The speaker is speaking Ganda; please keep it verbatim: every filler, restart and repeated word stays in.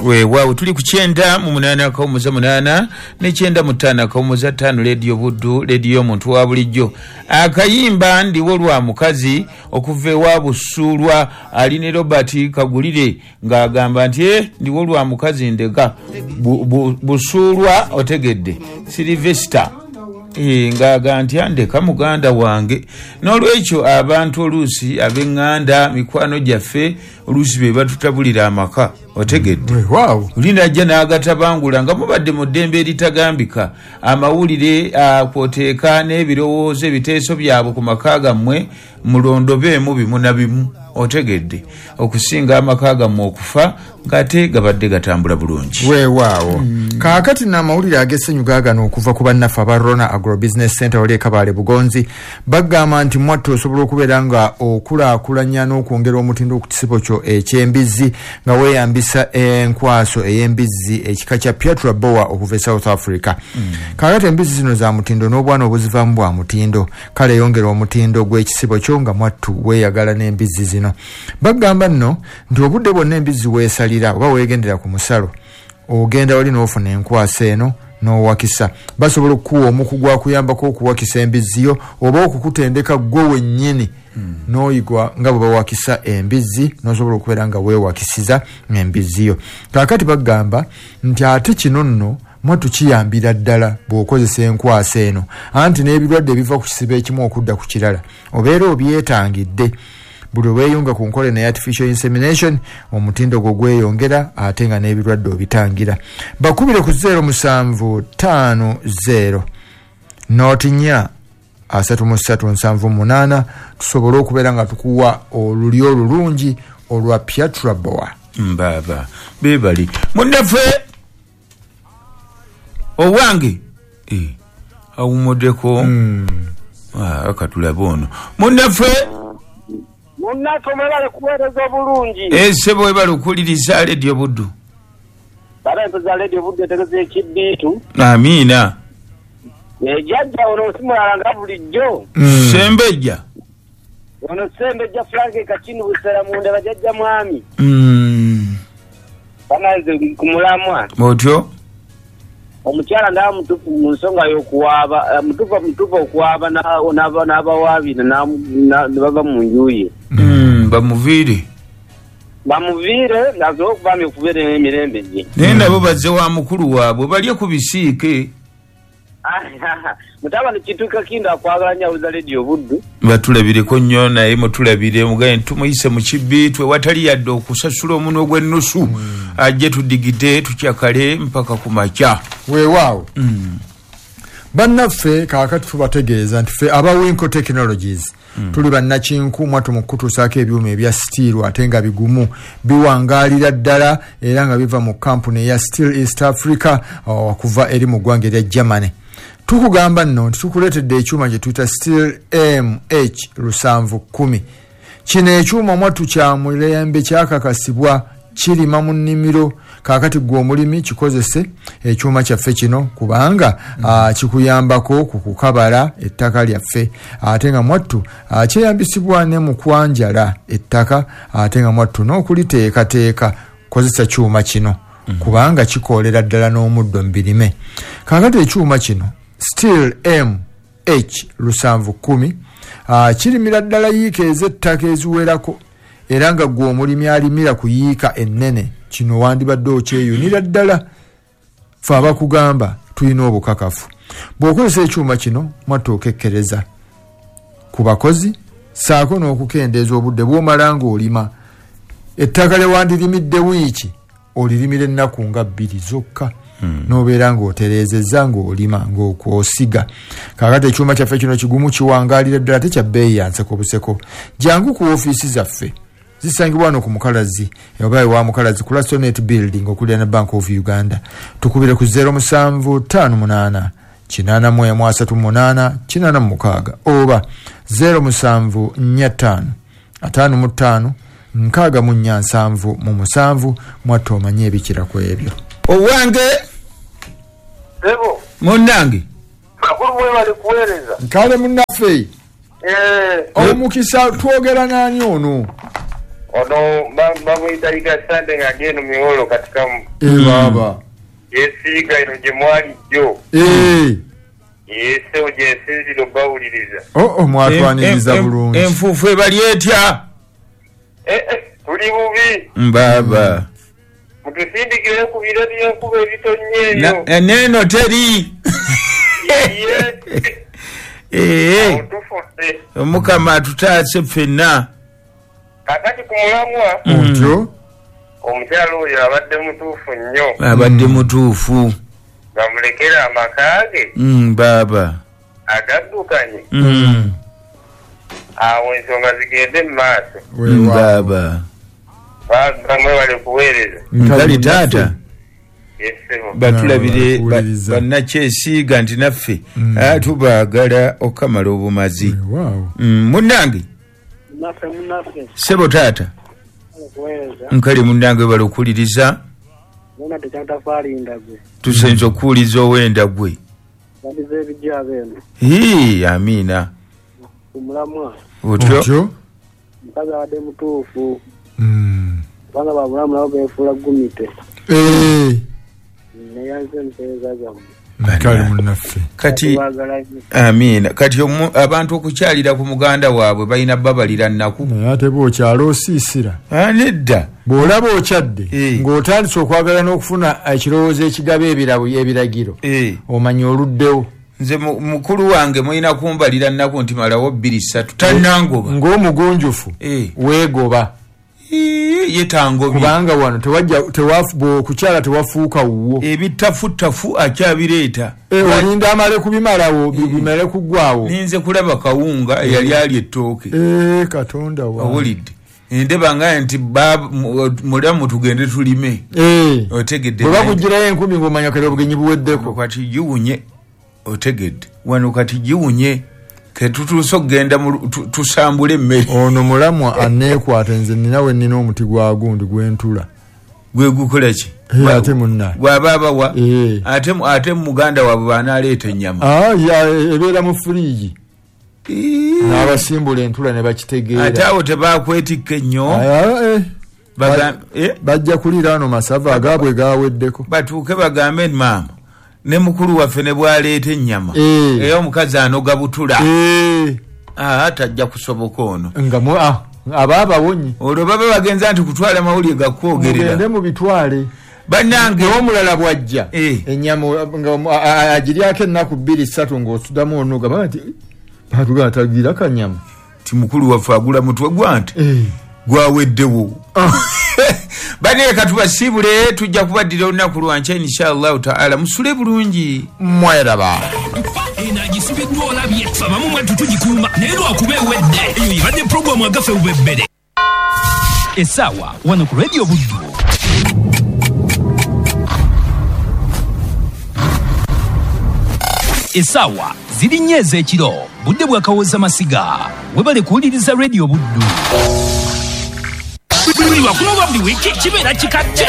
Weewaawo, tuli ku kyenda mu munaana akawumuza munaana ne kyenda mu ttaano akawumuza ttaano, Leediyo Buddu, leediyo y'omuntu wa bulijjo. Akayimba "Ndiwo lwa mukazi" okuva ewa Busuulwa ali ne Robert Kagulire, ng'agamba nti e ndiwo lwa mukazi ndeka. Bu- bu- busuulwa otegedde Silivesita. Eh, ng'aga nti andeka muganda wange. N'olwekyo abantu oluusi ab'eŋŋanda, mikwano gyaffe, oluusi be batutabulira amaka, otegedde? Weewaawo. Oli najja n'agatabangula nga mubadde mu ddembe eritagambika. Amawulire ah, kwoteeka n'ebirowoozo, ebiteeso byabwe ku maka gammwe, mulondobeemu bimu na bimu, otegedde, okusinga amaka gammwe okufa ng'ate gabadde gatambula bulungi. Weewaawo. Kaakati n'amawulire ag'essanyu gaagano okuva ku bannaffe aba Rona Agrobusiness Center wali e Kabaale Bugonzi. Bagamba nti mwattu osobola okubeera nga okulaakulanya n'okwongera omutindo ku kisibo kyo eky'embizzi nga weeyambisa enkwaso ey'embizzi ekika kya Piatra Boer okuva e South Africa. Kaakati embizzi zino za mutindo n'obwana obuzivaamu bwa mutindo. Kale yongera omutindo gw'ekisibo kyo nga mwattu weeyagala n'embizzi zino. Bagamba nno nti obudde bwonna embizzi weesalira oba weegendera ku musalo, ogenda wali n'ofuna enkwasa eno n'owakisa. Basobola okukuwa omukugu akuyambako okuwakisa embizzi yo oba okukutendeka gwe wennyini n'oyigwa nga bwe bawakisa embizzi, n'osobola okubeera nga weewakisiza embizzi yo. Kaakati bagamba nti ate kino nno mwattu kiyambira ddala bw'okozesa enkwasa eno, anti n'ebirwadde ebiva ku kisibo ekimu okudda ku kirala obeera obyetangidde. Buli lweyunga ku nkola eno artificial insemination, omutindo gwo gweyongera ate nga n'ebirwadde obitangira. Bakubire ku zero musanvu ttaano zero nought nnya asatu mu ssatu nsanvu munaana, tusobole okubeera nga tukuwa olulyo olulungi olwa Piatra Boer. Mbaaba bebali munnaffe owange. Eh, awumuddeko. Ah, katulabe ono munnaffe. Munnaffe, mwebale kuweereza obulungi. Esebo, webale okuwuliriza Leediyo Buddu. Bala za Leediyo Buddu etegeza ekibbiitu. Amiina. Ejjajja ono simulala nga bulijjo. Sembejja. Ono Sembejja Frank Kakini Busera munda bajjajja mwami. Mm. Bananze ku mulamwa. Otyo. Omukyala ndaba mutuufu mu nsonga y'okuwaaba, eh, mutuufu mutuufu okuwaaba n'abawaabi ne bava mu nju ye. Mm, bamuviire. Bamuviire asobole okubamya okubeera emirembe gye. Naye nabo bazze wa mukulu waabwe balye ku bisiike. Mutabani Kituuka Kinda akwagala nnyo, awuliza Leediyo Buddu. Batulabireko nnyo, naye mutulabire mugaye tumuyise mu kibbiitwe watali yadde okusasula omunwe gw'ennusu, ajje tudigide tukyakale mpaka ku makya. Weewaawo. Bannaffe, kaakati tubategeeza nti ffe aba Winco Technologies tuli bannakinku mwatu mu kutuusaako ebyuma ebya steel ate nga bigumu, biwangaalira ddala, era nga biva mu kampuni eya Steel East Africa okuva eri mu ggwanga erya Germany. Tukugamba nno nti tukuleetedde ekyuma kye tuyita Steel M H lusanvu kumi. Kino ekyuma mwattu kya mulembe, kyakakasibwa, kirima mu nnimiro. Kaakati gwe omulimi kikozese ekyuma kyaffe kino kubanga mm. kikuyambako ku kukabala ettaka lyaffe, ate nga mwattu kyeyambisibwa ne mu kwanjala ettaka, ate nga mwattu n'okuliteekateeka. Kozesa kyuma kino mm. kubanga kikoolera ddala n'omuddo mu birime. Kaakati ekyuma kino Steel M H lusanvu kumi kirimira ddala yiika ez'ettaka eziwerako, era nga gwe omulimi alimira ku yiika ennene kino wandibadde okyeyunira ddala. Fe abakugamba tulina obukakafu. Bw'okozesa ekyuma kino mwattu okekkereza ku bakozi saako n'okukendeeza obudde bw'omala ng'olima. Ettaka lye wandirimidde wiiki olirimira ennaku nga bbiri zokka hmm. n'obeera ng'otereezezza ng'olima ng'okwosiga. Kaakati ekyuma kyaffe kino kigumu, kiwangaalira ddala, tekya bbeeyi ya nseko buseko. Jangu ku ofiisi zaffe, zisangibwa wano ku Mukalazi oba ewa Mukalazi ku Lasonet Building okulira ne Bank of Uganda. Tukubire ku zero musanvu ttaano munaana kinaana mu emu asatu munaana kinaana mu mukaaga oba zero musanvu nnya ttaano ataano mu ttaano nkaaga mu nnya nsanvu mu musanvu. Mwatta omanye ebikira ku ebyo. Owange. Sebo. Munnange. Bakulu, mwebale kuweereza. Kale munnaffe. Eh. Omukisa, twogera naani ono? Ono bamuyita Yiga Sande nga agenda miwolo katika Eh baba. Yesiga ino gye mwali jjo. Eh. Yese gye bawuliriza. Oh oh mwatwaniriza bulungi. Enfuufu ebali etya? Eh eh tuli bubi. Mbaba. Mutusindikire ku biro by'enkuba ebitonye eyo. Neno teri. Eh. Omukama atutaase ffenna. Kakati ku mulamwa. Otyo. Omukyala oyo abadde mutuufu nnyo. Abadde mutuufu. Bamulekera amaka ge. Mm, baba. Agaddukanye. Mm. Awo ensonga zigende mu maaso. Mm, baba. Bamwe bali kuweereza. Nkali taata. Batulabire bannakyesiiga nti naffe tubaagala okamala obumazi. Munnange. Ssebo taata. Nkale munnange bali okuwuliriza. Tusenze okuwuliza ow'endagwe. Hii, amiina. Otyo. Mukazi abadde mutuufu. Kubanga babulamu nabo beefuula gumite. Neyanze empeereza zammwe. Kati amiina. Kati abantu okukyalira ku muganda waabwe balina babalira nnaku. Naye ate bw'okyala osiisira. Nedda. Bw'olaba okyadde ng'otandise okwagala n'okufuna ekirowoozo ekigaba ebirabo ebiragiro omanya oluddewo. Nze mukulu wange mulina kumbalira nnaku nti malawo bbiri ssatu tannangoba. Ng'omugunjufu weegoba. Yetangobye. Kubanga wano tewajja okukyala tewafuuka wuwo. Ebitafutafu akyabireeta. Olinda amale kubimalawo bimale kuggwawo. Ninze kulaba kawunga eyali ali ettooke. Katonda wa. Owulidde. Ndeba nga nti mulamu tugende tulime. Otegedde. Bwe bakugirayo enkumi ng'omanya kale obugenyi buweddeko. Kati giwunye. Otegedde. Wano kati giwunye. Ketutuuse okugenda tusambule emmere. Ono mulamwa aneekwata nze nina we nnina omuti gwa gundi gw'entula. Gwe gukola ki? Ate munna. Bw'aba abawa. Ate ate muganda waabwe bw'anaaleeta ennyama. Ah, ebeera mu firiigi. N'abasimbula entula ne bakitegeera. Ate awo tebakwetikka ennyo. Bajja kuliira wano masava agaabwe gaweddeko. Batuuke bagambe maama. Ne mukulu waffe ne bw'aleeta ennyama era omukazi anoga butula ah tajja kusoboka ono nga aba abawonye. Olwo baba bagenza nti kutwala mawulire gakwogerera mugende mubitwale bannange. Omulala bw'ajja ennyama nga agiryako ennaku bbiri ssatu ng'osuddamu onoga baba nti batugamba tagira kanyama ti mukulu waffe agula mutwe gwa nti gwaweddewo. Baneka tubasiibule tujja kubaddira olunaku lwankya inshallah taala. Musule bulungi mweraba. Eno agisibiddwa olabye ffe abamu mwattu tugikuuma naye lwakuba ewedde. Eyo ebadde puroguramu agaffe bubebbere. Essaawa wano ku Radio Buddu. Essaawa ziri nnya ez'ekiro budde bwakawooza masiga. Webale kuwuliriza Radio Buddu. Buli lwakuno lwa buli wiiki kibeera kikadde.